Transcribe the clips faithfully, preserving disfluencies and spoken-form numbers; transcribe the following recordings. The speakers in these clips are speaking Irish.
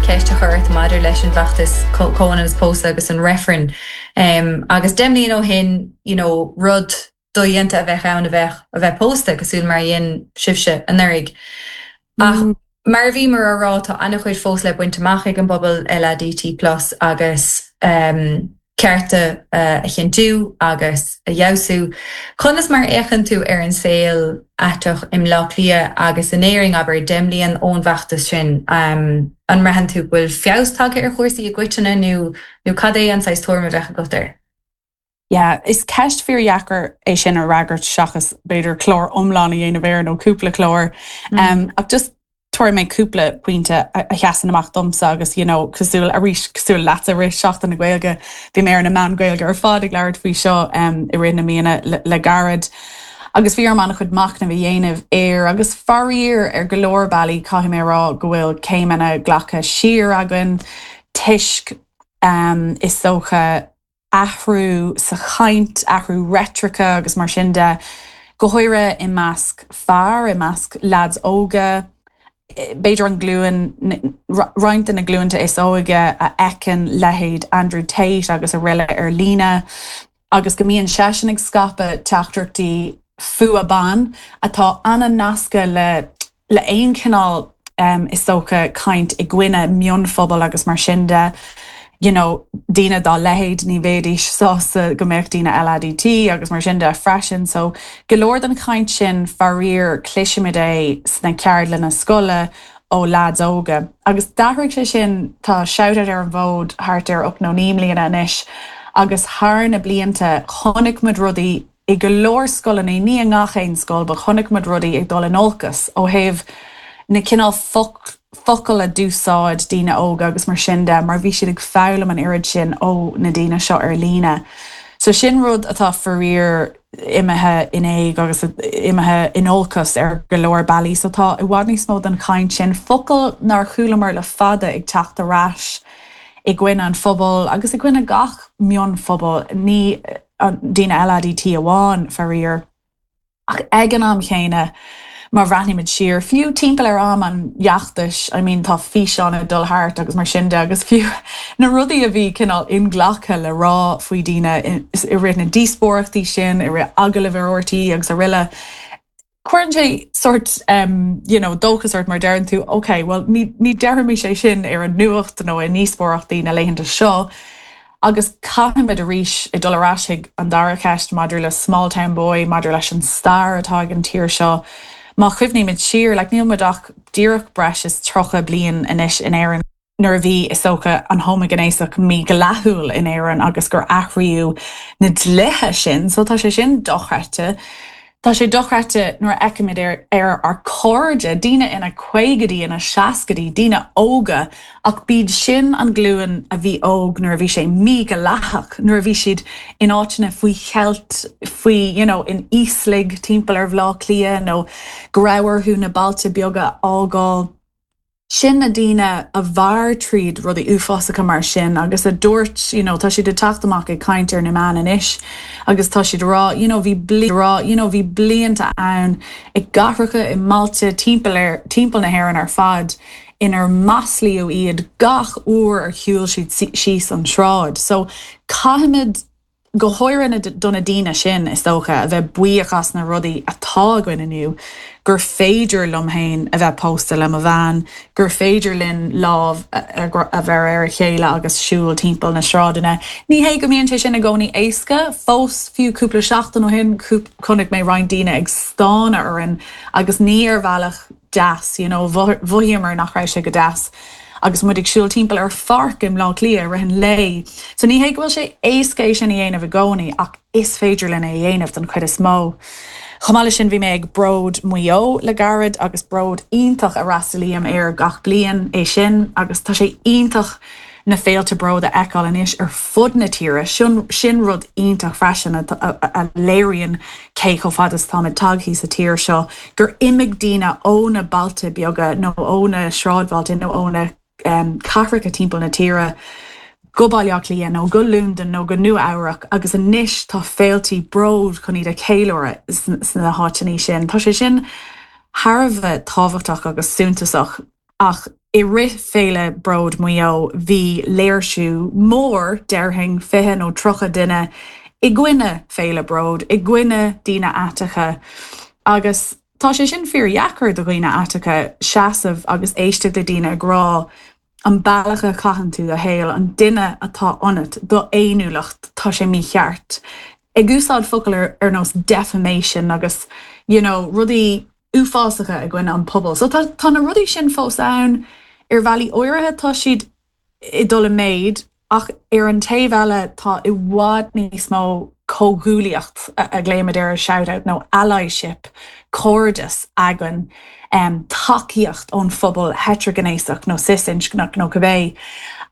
ceist a chur ort maidir leis an bhfeachtas comhionannas pósta agus an reifreann. Um, agus deich mbliana ó shin you know, rud dodhéanta a bheith ann a bheith a bheith pósta cosúil mar a dhein sibhse anuraidh. Ach mm. mar bhí mar a rá tá an-chuid fós le baint amach ag an bpobal LADT plus agus um, cearta uh, a chinntiú agus a fheabhsú. Conas mar a fhéachann tú ar an saol aiteach i mBleá Cliath agus in Éirinn abair deich mbliana ón bhfeachtas sin um, an mbraitheann tú bhfuil feabhas tagtha ar chúrsaí i gcoitinne nó nó cad é an saghas tuairim a bheith agat air. Yeah, is ceist fíordheacair é sin a fhreagairt seachas b'fhéidir clár iomlán a dhéanamh air nó cúpla clár. Mm. Um, ach just tabharfaidh mé cúpla pointe a sheasann amach domsa agus you know, cosúil arís cosúil leat i rith Seachtain na Gaeilge bhí mé ar na meáin Gaeilge ar fad ag labhairt faoi seo um, i rith na míonna le, le gairid. Agus bhí orm an-chuid machnamh a dhéanamh air agus faraor ar go leor bealaí caithfidh mé rá go bhfuil céimeanna glactha siar againn toisc um, is dócha athrú sa chaint athrú reitrice agus mar sin de go háirithe i measc fear i measc lads óga b'fhéidir an glúin roinnt de na glúnta is óige a fheiceann leithéid Andrew Tate agus araile ar líne agus go mbíonn seisean ag scaipeadh teachtaireachtaí fuath ban atá an-nasctha le le aon chineál um, is dócha caint i gcoinne mionphobal agus mar sin de. You know, daoine dá leithéid ní bheidís sásta go mbeadh daoine LADT agus mar sin de freisin, so go leor den chaint sin faraor cloisimid é sna ceardlanna scoile ó lads óga. Agus d'athraigh sé sin tá Shout ar an bhfód thart ar ocht nó naoi mbliana anois, agus thar na blianta chonaic muid rudaí i go leor scoileanna ní i ngach aon scoil, ba chonaic muid rudaí ag dul in olcas ó thaobh na cineál focail a d'úsáid daoine óga agus mar sin de mar bhí siad ag foghlaim an oiread sin ó na daoine seo ar líne. So sin rud atá faraor imithe in éag agus imithe in olcas ar go leor bealaí, so tá i bhfad níos mó den chaint sin focail nár chualamar le fada ag teacht ar ais i gcoinne an phobal agus i gcoinne gach mionphobal ní daoine LADT amháin faraor. Ach ag an am chéanna má bhreathnaímid siar fiú timpeall ar am an fheachtais I mean tá físeán ag dul thart agus mar sin de agus fiú na rudaí a bhí cineál inghlactha le rá faoi daoine i rith na díospóireachtaí sin i rith agallaimh ar RTÉ agus araile. Cuireann sé sort um, you know, dóchas ort mar deireann tú okay, well ní, ní déarfaimis é sin ar an nuacht nó i ndíospóireachtaí na laethanta seo. Agus caithfimid arís ag dul ar ais chuig an dara ceist maidir le small town boy, maidir leis an stair atá ag an tír seo. Má chuimhnímid siar le níl muid ach díreach breis is tríocha bliain anois in Éirinn. Nuair a bhí is dócha an homaighnéasach mídhleathach in Éirinn agus gur athraíodh na dlíthe sin, so tá sé sin dochreidte. Tá sé dochreidte nuair a fheicimid ar ar ár gcairde, daoine ina gcaogaidí ina seascaidí, daoine óga, ach b'iad sin an glúin a bhí óg nuair a bhí sé mídhleathach, nuair a bhí siad in áiteanna faoi cheilt faoi you know, in íoslaigh timpeall ar Bhaile Átha Cliath nó go raibh orthu na bailte beaga a fhágáil. Sin na daoine a mhair tríd rudaí uafásacha mar sin agus a dúirt you know, tá siad ag teacht amach ag caint ar na meáin anois agus tá siad rá you know, bhí bli rá you know, bhí blianta ann i gcathracha i mbailte timpeall ar timpeall na hÉireann ar fad inar maslaíodh iad gach uair ar shiúil siad síos an tsráid. So caithfimid go háirithe do na daoine sin is dócha a bheith buíoch as na rudaí atá againn inniu, gur féidir liom féin a bheith pósta le mo bhean, gur féidir linn lámh a bheith ar a chéile agus siúl timpeall na sráideanna. Ní hé go mbíonn sé sin i gcónaí éasca, fós fiú cúpla seachtain ó shin chonaic mé roinnt daoine ag stánadh orainn agus ní ar bhealach deas, you know, mhothaíomar nach raibh sé go deas. agus muid ag siúl timpeall ar pháirc i mBleá Cliath rith an lae. So ní hé go bhfuil sé éasca é sin a dhéanamh i gcónaí ach is féidir linn é a dhéanamh den chuid is mó. Chomh maith leis sin bhí mé ag Bród Mhaigh Eo le gairid agus bród iontach a fhreastalaím air gach bliain é sin agus tá sé iontach na féilte bród a fheiceáil anois ar fud na tíre sin sin rud iontach freisin a, a, a léiríonn cé chomh fada is táimid tagtha sa tír seo gur imigh daoine ó na bailte beaga nó ó na sráidbhailte nó ó na um, cathracha timpeall na tíre go Baile Átha Cliath nó go Londain nó go Nua-Eabhrac agus anois tá féilte bród chun iad a cheiliúradh sna háiteanna sin. Tá sé sin thar a bheith tábhachtach agus suntasach. ach i rith féile Bród Mhaigh Eo bhí léirsiú mór déarfainn fiche nó tríocha duine i gcoinne féile Bród, i gcoinne daoine aiteacha agus tá sé sin fíordheacair do dhaoine aiteacha seasamh agus éisteacht le daoine ag rá an bealach a chaitheann tú do shaol an duine atá ionat do fhéiniúlacht tá sé mícheart. Ag úsáid focail ar, ar nós defamation agus you know, rudaí uafásacha i gcoinne an pobal. So tá, tá na rudaí sin fós ann ar bhealaí áirithe tá siad ag dul i méid ach ar an taobh eile tá i bhfad níos mó comhghuaillíocht a ghlaoimid ar a shout nó allyship cairdeas againn um, tacaíocht ón phobal heitrighnéasach nó cis-inscneach nó cibé.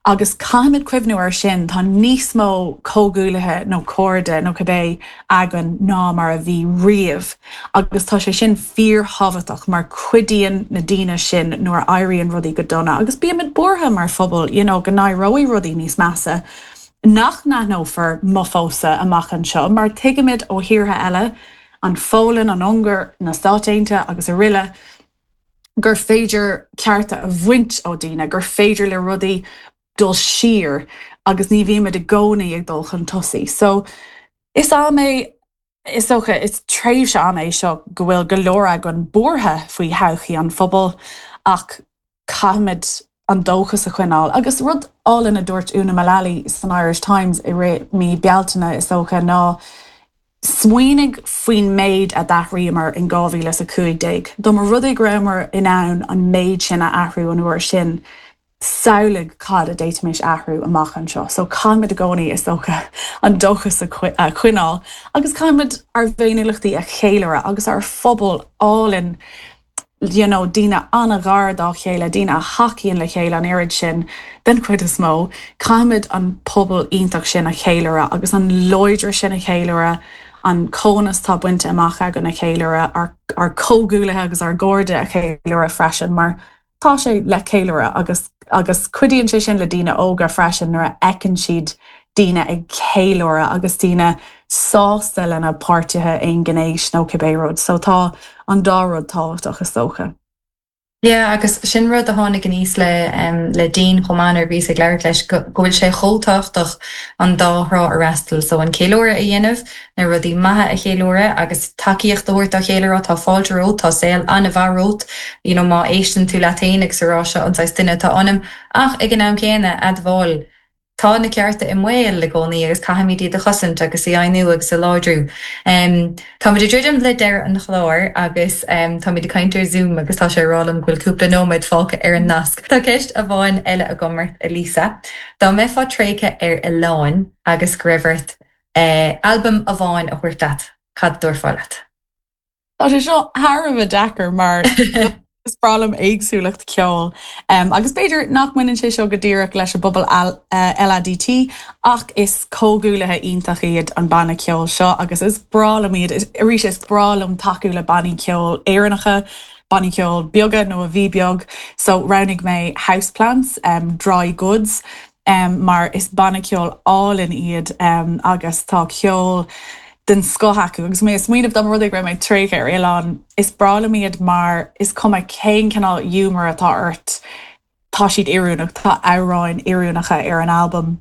Agus caithfimid cuimhneamh ar sin tá níos mó comhghuaillithe nó cairde nó cibé againn ná mar a bhí riamh. agus tá sé sin fíorthábhachtach mar cuidíonn na daoine sin nuair a éiríonn rudaí go dona, agus bímid buartha mar phobal you know, go n-éireoidh rudaí níos measa. Nach n-aithneofar mo phósadh amach anseo, mar tuigimid ó thíortha eile, an Pholainn, an Ungáir, na Stáit Aontaithe agus araile, gur féidir cearta a bhaint ó daoine, gur féidir le rudaí dul siar agus ní bhímid i gcónaí ag dul chun tosaigh. So is am é is dócha is tréimhse am é seo go bhfuil go leor againn buartha faoi thodhchaí an phobail ach caithfimid an dóchas a choinneáil. Agus rud álainn a dúirt Úna Mullally san Irish Times i rith mí Bealtaine is dócha ná smaoinigh faoin méid a d'athraíomar in dhá mhíle a cúig déag. Dá mba rud é go rabhamar in ann an méid sin a athrú an uair sin, samhlaigh cad a d'fhéadfaimis athrú amach anseo. So caithfimid i gcónaí is dócha an dóchas a choinneáil, agus caithfimid ár bhféiniúlachtaí a cheiliúradh agus ár phobal álainn you know, daoine an-ghar dá chéile, daoine a thacaíonn le chéile an oiread sin den chuid is mó, caithfimid an pobal iontach sin a cheiliúradh agus an láidre sin a cheiliúradh, an comhionannas atá bainte amach againn a cheiliúradh ár, ár comhghuaillithe agus ár gcairde a cheiliúradh freisin, mar tá sé le ceiliúradh agus agus cuidíonn sé sin le daoine óga freisin nuair a fheiceann siad daoine ag ceiliúradh agus daoine sásta lena páirtithe aongnéis nó cibé rud, so tá an dá rud tábhachtach is dócha. Yeah, agus sin rud a tháinig aníos le um, le Dean chomh maith nuair a bhíos ag labhairt leis go bhfuil sé chomh tábhachtach an dá thrá a fhreastal, so an ceiliúradh a dhéanamh, na rudaí maithe a cheiliúradh agus tacaíocht a thabhairt dá chéile rá tá fáilte romhat, tá saol an-mhaith romhat, you know, má éisteann tú leat féin agus a rá seo an saghas duine atá ionam, ach ag an am céanna admháil Tá na cearta i mbaol i gcónaí agus caithfimid iad a chosaint agus a dheimhniú agus a láidriú. Táimid ag druidim le deireadh an chláir agus táimid ag caint ar Zoom agus tá sé ag rá liom go bhfuil cúpla nóiméad fágtha ar an nasc. Tá ceist amháin eile agam ort, a Lisa. Dá mbeifeá tréigthe ar oileán agus go raibh ort albam amháin a thabhairt leat, cad a dtabharfá leat? Tá sé seo thar a bheith deacair mar is breá liom éagsúlacht ceoil. Um, agus b'fhéidir nach mbaineann sé seo go díreach leis an bpobal LADT ach is comhghuaillithe iontach iad an banna ceoil seo agus is breá liom iad arís is breá liom tacú le bannaí ceoil Éireannacha, bannaí ceoil beaga nó a bhí beag, so roghnaigh mé Houseplants, um, Dry Goods, um, mar is banna ceoil álainn iad um, agus tá ceol den scoth acu agus mé ag smaoineamh dá mba rud é go raibh mé tréigthe ar oileán is breá liom iad mar is cuma cén cineál giúmar atá ort tá siad oiriúnach tá amhráin oiriúnacha ar an albam.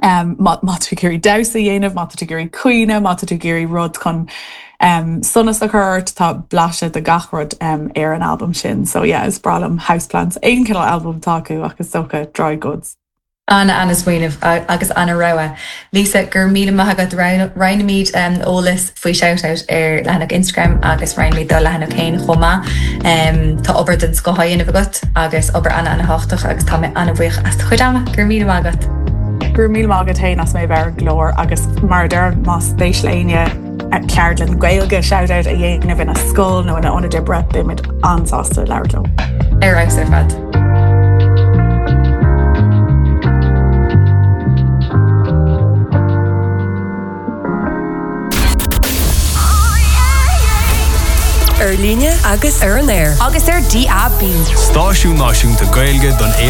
Um, má tá tú ag iarraidh damhsa a dhéanamh, má tá tú ag iarraidh caoineadh, má tá tú ag iarraidh rud chun um, sonas a chur ort tá blaiseadh de gach rud um, ar an albam sin. So yeah, is breá liom Houseplants aon cineál albam atá acu agus is dócha Dry Goods. An-an-smaoineamh agus an-rogha. Lisa, go raibh míle maith agat roinnfimid eolas faoi Shoutout ar leathanach Instagram agus roinnfimid do leathanach féin chomh maith. Tá obair den scoth á dhéanamh agat agus obair an-an-thábhachtach agus tá mé an-bhuíoch as do chuid ama. Go raibh míle maith agat. Go raibh míle maith agat féin as mé bheith ar an gclár agus mar a deir más spéis le éinne ceardlann Gaeilge Shoutout a dhéanamh ina scoil nó ina ionad oibre beimid an-sásta labhairt leo. Ar fheabhas ar fad. Ar líne agus ar an aer. Agus ar DAB. Stáisiún náisiúnta Gaeilge don aos